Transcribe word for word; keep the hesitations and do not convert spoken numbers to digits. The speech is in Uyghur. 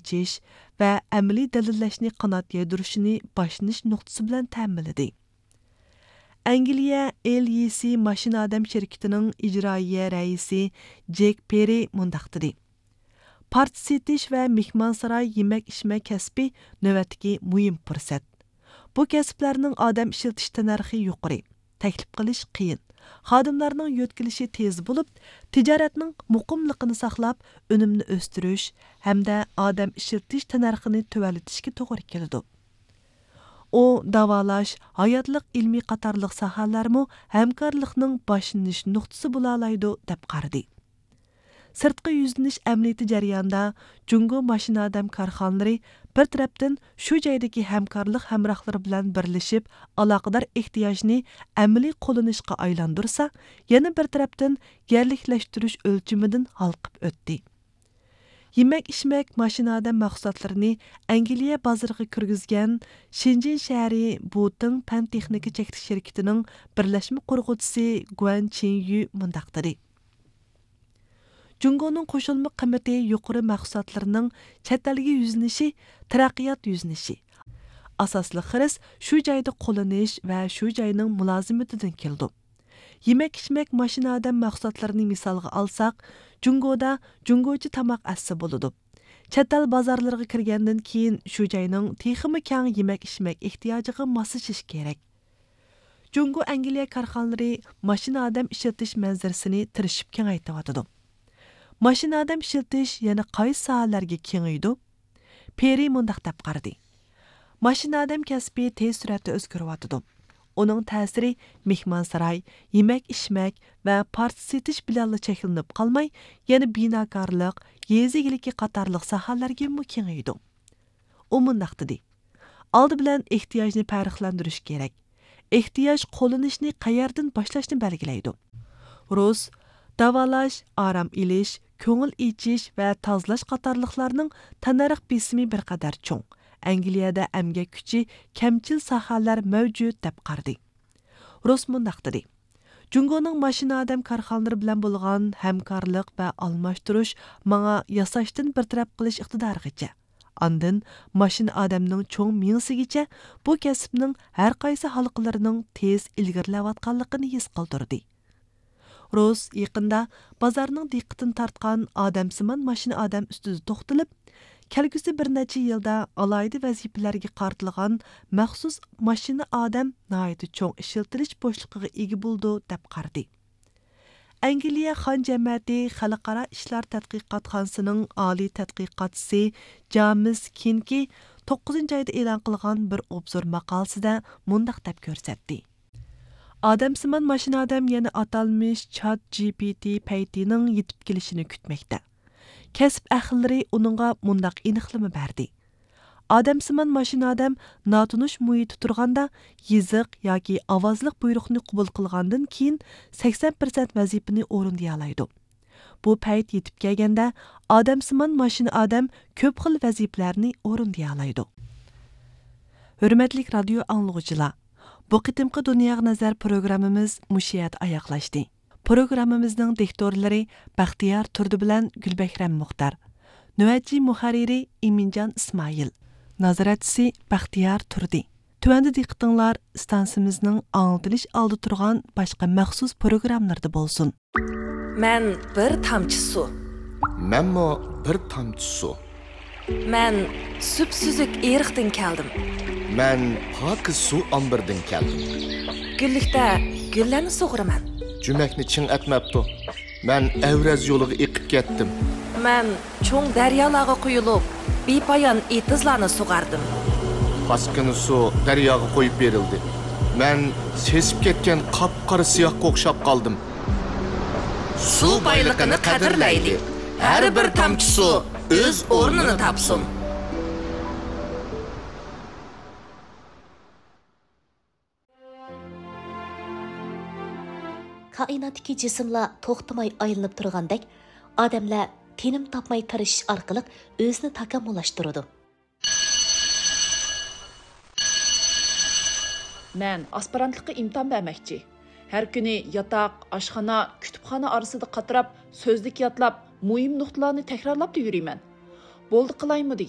ئېچىش ۋە ئەمەلىي دەلىللەشنى قانات يايدۇرۇشىنى باشلىنىش نۇقتىسى بىلەن تەمىنلىدى. ئەنگلىيە ئېل ئېي سى ماشىنا ئادەم شىركىتىنىڭ ئىجرائىيە رەئىسى جېك پېررى مۇنداق دېدى: پارچە سېتىش ۋە مېھمانساراي يېمەك-ئىچمەك كەسپى نۆۋەتتىكى مۇھىم پۇرسەت. بۇ كەسىپلەرنىڭ ئادەم ئىشلىتىش تەننەرخى يۇقىرى، تەكلىپ قىلىش قىيىن، خادىملارنىڭ يۆتكىلىشى تېز بولۇپ، تىجارەتنىڭ مۇقىملىقىنى ساقلاپ، ئۈنۈمنى ئۆستۈرۈش ھەمدە ئادەم ئىشلىتىش تەننەرخىنى تۆۋەنلىتىشكە توغرا كېلىدۇ. ئۇ داۋالاش، ھاياتلىق ئىلمى قاتارلىق ساھەلەرمۇ ھەمكارلىقنىڭ باشلىنىش نۇقتىسى بولالايدۇ، دەپ قارىدى. سىرتقا يۈزلىنىش ئەمەلىيىتى جەريانىدا جۇڭگو ماشىنا ئادەم كارخانىلىرى بىر تەرەپتىن شۇ جايدىكى ھەمكارلىق ھەمراھلىرى بىلەن بىرلىشىپ ئالاقىدار ئېھتىياجنى ئەمەلىي قوللىنىشقا ئايلاندۇرسا، يەنە بىر تەرەپتىن يەرلىكلەشتۈرۈش ئۆلچىمىدىن ھالقىپ ئۆتتى. يېمەك-ئىچمەك ماشىنا ئادەم مەھسۇلاتلىرىنى ئەنگلىيە بازىرىغا كىرگۈزگەن شېنجېن شەھىرى بۇتىڭ پەن تېخنىكا چەكلىك شىركىتىنىڭ بىرلەشمە قۇرغۇچىسى گۇەن چىنيۈ مۇنداق دېدى: جۇڭگونىڭ قوشۇلما قىممىتى يۇقىرى مەھسۇلاتلىرىنىڭ چەت ئەلگە يۈزلىنىشى تەرەققىيات يۈزلىنىشى، ئاساسلىق خىرىس شۇ جايدا قوللىنىش ۋە شۇ جاينىڭ مۇلازىمىتىدىن كېلىدۇ. يېمەك-ئىچمەك ماشىنا ئادەم مەھسۇلاتلىرىنى مىسالغا ئالساق، جۇڭگودا جۇڭگوچە تاماق ئەتسە بولىدۇ. چەت ئەل بازارلىرىغا كىرگەندىن كېيىن، شۇ جاينىڭ تېخىمۇ كەڭ يېمەك-ئىچمەك ئېھتىياجىغا ماسلىشىشى كېرەك. جۇڭگو ئەنگلىيە كارخانىلىرى ماشىنا ئادەم ئىشلىتىش مەنزىرىسىنى تىرىشىپ كېڭەيتىۋاتىدۇ. ماشىنا ئادەم ئىشلىتىش يەنە قايسى ساھەلەرگە كېڭىيىدۇ؟ پېررى مۇنداق دەپ قارىدى: ماشىنا ئادەم كەسپى تېز سۈرئەتتە ئۆزگىرىۋاتىدۇ. ئۇنىڭ تەسىرى مېھمانساراي، يېمەك-ئىچمەك ۋە پارچە سېتىش بىلەنلا چەكلىنىپ قالماي، يەنە بىناكارلىق، يېزا ئىگىلىكى قاتارلىق ساھەلەرگىمۇ كېڭىيىدۇ. ئۇ مۇنداق دېدى: ئالدى بىلەن ئېھتىياجنى پەرقلەندۈرۈش كېرەك. ئېھتىياج قوللىنىشنى قەيەردىن باشلاشنى بەلگىلەيدۇ. رۇس، داۋالاش، ئارام ئېلىش، كۆڭۈل ئېچىش ۋە تازىلاش قاتارلىقلارنىڭ تەننەرخ بېسىمى بىر قەدەر چوڭ. ئەنگلىيەدە ئەمگەك كۈچى كەمچىل ساھەلەر مەۋجۇت، دەپ قارىدى. رۇس مۇنداق دېدى: جۇڭگونىڭ ماشىنا ئادەم كارخانىلىرى بىلەن بولغان ھەمكارلىق ۋە ئالماشتۇرۇش ماڭا ياساشتىن بىر تەرەپ قىلىش ئىقتىدارىغىچە، ئاندىن ماشىنا ئادەمنىڭ چوڭ مېڭىسىگىچە بۇ كەسىپنىڭ ھەر قايسى ھالقىلىرىنىڭ تېز ئىلگىرىلەۋاتقانلىقىنى ھېس قىلدۇردى. رۇس يېقىندا بازارنىڭ دىققىتىنى تارتقان ئادەمسىمان ماشىنا ئادەم ئۈستىدە توختىلىپ، كەلگۈسى بىر نەچچە يىلدا ئالاھىدە ۋەزىپىلەرگە قارىتىلغان مەخسۇس ماشىنا ئادەم ناھايىتى چوڭ ئىشلىتىلىش بوشلۇقىغا ئىگە بولىدۇ، دەپ قارىدى. ئەنگلىيە خان جەمەتى خەلقئارا ئىشلار تەتقىقاتخانىسىنىڭ ئالىي تەتقىقاتچىسى جامېس كىنكى توققۇزىنچى ئايدا ئېلان قىلغان بىر ئوبزور ماقالىسىدە مۇنداق دەپ كۆرسەتتى: ئادەمسىمان ماشىنا ئادەم يەنە ئاتالمىش چات جي پى تى پەيتىنىڭ يېتىپ كېلىشىنى كۈتمەكتە. كەسىپ ئەھلىلىرى ئۇنىڭغا مۇنداق ئېنىقلىما بەردى: ئادەمسىمان ماشىنا ئادەم ناتونۇش مۇھىتتا تۇرغاندا، يېزىق ياكى ئاۋازلىق بۇيرۇقنى قوبۇل قىلغاندىن كېيىن، سەكسەن پىرسەنت ۋەزىپىنى ئورۇندىيالايدۇ. بۇ پەيت يېتىپ كەلگەندە، ئادەمسىمان ماشىنا ئادەم كۆپ خىل ۋەزىپىلەرنى ئورۇندىيالايدۇ. ھۆرمەتلىك رادىيو ئاڭلىغۇچىلار، بۇ قېتىمقى دۇنياغا نەزەر پروگراممىمىز مۇشۇ يەردە ئاياغلاشتى. پروگراممىمىزنىڭ دىكتورلىرى بەختىيار تۇردى بىلەن گۈلبەھرەم مۇختار. نۆۋەتچى مۇھەررىرى ئىمىنجان ئىسمائىل. نازارەتچىسى بەختىيار تۇردى. تۆۋەندە دىققىتىڭلار ئىستانسىمىزنىڭ ئاڭلىتىلىش ئالدىدا تۇرغان باشقا مەخسۇس پروگراممىلىرىدا بولسۇن. مەن بىر تامچە سۇ. مەنمۇ بىر تامچە سۇ. مەن سۈپسۈزۈك ئېرىقتىن كەلدىم. مەن پاكىز سۇ ئامبىرىدىن كەلدىم. گۈللۈكتە گۈللەرنى سۇغۇرىمەن. جۈمەكنى چىڭ ئەتمەپتۇ. مەن ئەۋرەز يولىغا ئېقىپ كەتتىم. مەن چوڭ دەريالارغا قۇيۇلۇپ، بىپايان ئېتىزلارنى سۇغاردىم. پاسكىنا سۇ دەرياغا قويۇپ بېرىلدى. مەن سېسىپ كەتكەن قاپقارا سىياھقا ئوخشاپ قالدىم. سۇ بايلىقىنى قەدىرلەيلى. ھەر بىر تامچە سۇ ئۆز ئورنىنى تاپسۇن. كائىناتتىكى جىسىملار توختىماي ئايلىنىپ تۇرغاندەك، ئادەملەر تىنىم تاپماي تىرىشىش ئارقىلىق ئۆزىنى تاكامۇللاشتۇرىدۇ. مەن ئاسپىرانتلىققا ئىمتىھان بەرمەكچى. ھەر كۈنى ياتاق، ئاشخانا، كۇتۇپخانا ئارىسىدا قاتراپ، سۆزلۈك يادلاپ، مۇھىم نۇقتىلارنى تەكرارلاپلا يۈرىمەن. بولدى قىلايمۇ دېگەن.